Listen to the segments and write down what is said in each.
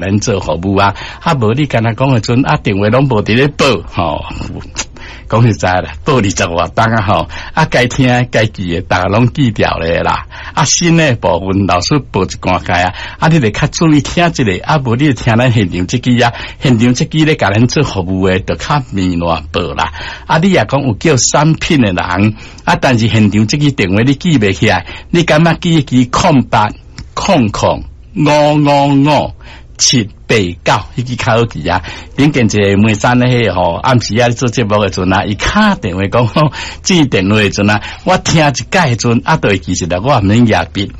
咱做服務啊，啊無你敢若講的陣啊，電話攏無佇咧報吼。講實在啦，報20外冬啊吼，啊該聽該記的，逐家攏記牢咧啦。啊新的部分老師報一寡解啊，啊你著較注意聽一下，啊無你聽咱現場這支啊，現場這支咧共咱做服務的，就較慢亂報啦。啊你若講有叫產品的人，啊但是現場這支電話你記袂起來，你感覺記一支0800 000 5789，彼支較好記啊。頂間一個梅山的彼個吼，暗時仔咧做節目的陣啊，伊敲電話講吼，接電話的陣啊，我聽一擺的陣啊，就會記實啦，我毋免舉筆。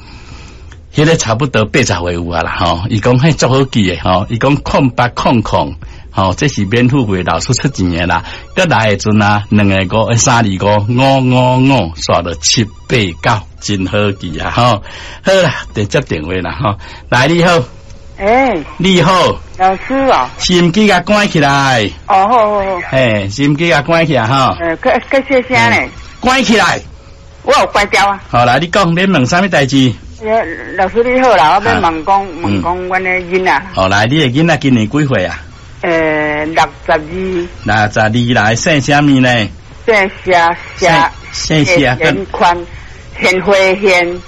彼個差不多80歲有啊啦吼，伊講彼足好記的吼，伊講0800，吼，這是免付費老師出錢的啦。閣來的陣啊，兩個五，325 555，煞落789，真好記啊吼。好啦，直接電話啦吼，來你好。欸，你好，老師哦，收音機共關起來。哦，好好好。嘿，收音機共關起來吼。較較細聲咧。關起來。我有關掉啊。好來，你講，你問啥物代誌？老師你好啦，我欲問講問講阮的囡仔。好來，你的囡仔今年幾歲啊？62。62來，姓啥物呢？姓謝，謝。姓謝。賢寬，賢惠賢。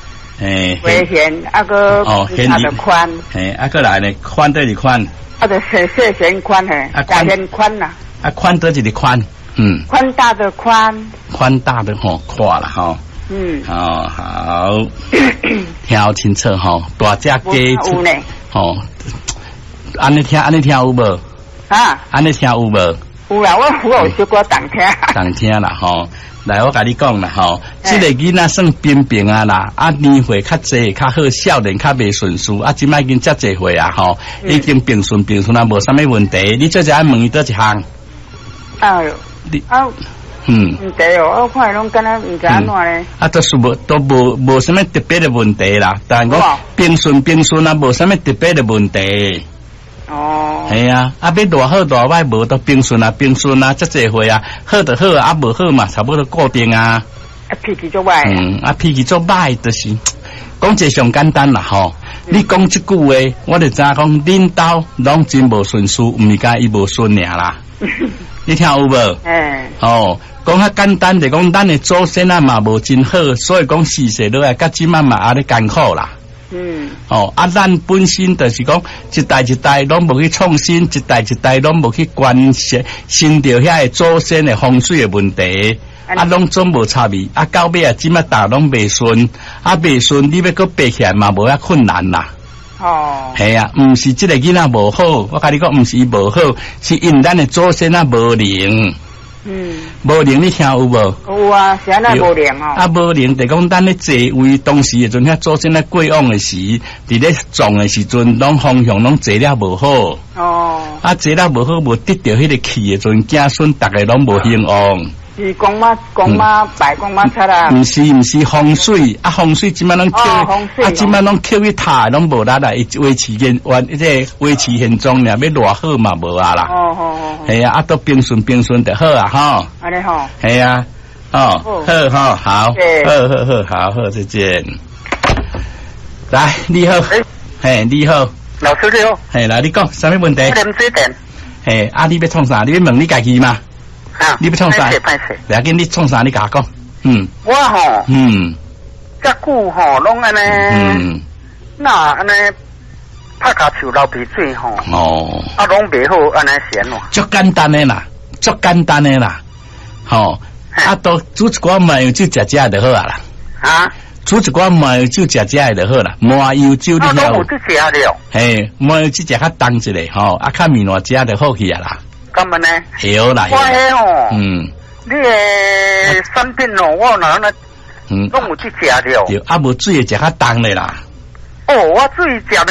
嘿，花賢啊閣哦，啊就寬，嘿，啊閣來呢？寬佗一寬？啊就細細賢寬嘿，啊賢寬啦。啊寬佗一个寬？嗯。寬大的寬。寬大的吼，寬啦吼。哦好，聽清楚吼，大隻雞有呢。吼，按呢聽按呢聽有無？啊？按呢聽有無？有啦，我有小可動聽。動聽啦吼。來，我共你講啦吼，這個囡仔算平平啊啦，啊年歲較濟較好，少年較袂順序，啊這擺已經遮濟歲啊吼，已經平順平順啊，無啥物問題。你做者愛問伊佗一項？哎喲，你啊，問題哦，我看伊攏敢若毋知按怎咧。啊，都是無都無無啥物特別的問題啦，但講平順平順啊，無啥物特別的問題。哦，係啊，啊，欲偌好偌歹無都平順啊，平順啊，遮濟歲啊，好就好啊，無好嘛，差不多固定啊。啊，脾氣足歹。嗯，啊，脾氣足歹，就是講一個上簡單啦吼。你講這句話，我就知影講恁兜攏真無順序，毋是干伊無順爾啦。你聽有無？欸。哦，講較簡單就講，咱的祖先啊嘛無真好，所以講世世落來，到這擺嘛按呢艱苦啦。哦，啊，咱本身就是講一代一代攏無去創新，一代一代攏無去關心心著遐个祖先的風水的問題，啊，攏總無插伊，啊，到尾啊，這擺逐攏袂順，啊，袂順，你欲閣爬起來嘛無遐困難啦。哦。係啊，毋是這個囡仔無好，我共你講，毋是伊無好，是因咱的祖先啊無靈。無靈你聽有無？有啊，是按怎無靈哦？啊，無靈就講咱咧坐位當時的陣，遐祖先咧過往的時，佇咧葬的時陣，攏方向攏坐了無好。哦。啊，坐了無好，無得著彼個氣的陣，子孫逐个攏無興旺。是公媽公媽拜公媽出啦。毋是毋是風水，啊風水這擺攏扣，啊這擺攏扣去塔攏無力啦，伊維持現原，這個維持現狀爾，欲偌好嘛無啊啦。哦哦哦。係啊，啊都平順平順就好啊，吼。按呢吼。係啊，哦，好好好，好好好好好，再見。來，你好，嘿，你好，老師你好。嘿，來你講，啥物問題？點水電。嘿，啊你欲創啥？你欲問你家己嗎？啊！你欲創啥？歹勢，袂要緊，你創啥？你共我講。嗯。我吼。遮久吼，攏按呢。那按呢，拍跤手流鼻水吼。哦。啊，攏袂好，按呢是按怎？足簡單的啦，足簡單的啦，吼。啊，都煮一寡麻油酒食食就好啊啦。啊？煮一寡麻油酒食食就好啦，麻油酒你曉？啊，攏有這食了。嘿，麻油酒食較重一下吼，啊，較麵糜食就好去啊啦。幹嘛呢？會啦，我彼吼，你的產品哦，我哪那，攏有去食了。對，啊，無水會食較重的啦。哦，我水食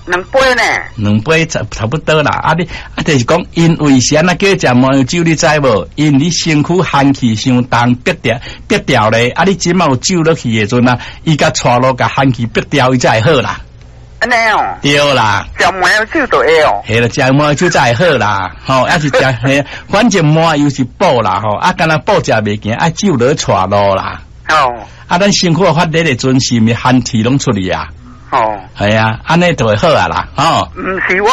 兩杯呢。兩杯差不多啦。啊，你啊，就是講，因為是按怎叫食麻油酒，你知無？因為你身軀寒氣傷重，逼掉逼掉咧。啊，你這擺有酒落去的陣啊，伊共帶落共寒氣逼掉，伊才會好啦。按呢哦。對啦。食麻油酒就會哦。係啦，食麻油酒才會好啦。吼，抑是食嘿，反正麻油是補啦吼，啊，干焦補食袂行，愛酒落帶路啦。哦。啊，咱身軀發熱的陣，是毋是寒氣攏出去啊？哦。哦。係啊，按呢就會好啊啦，吼。毋是我。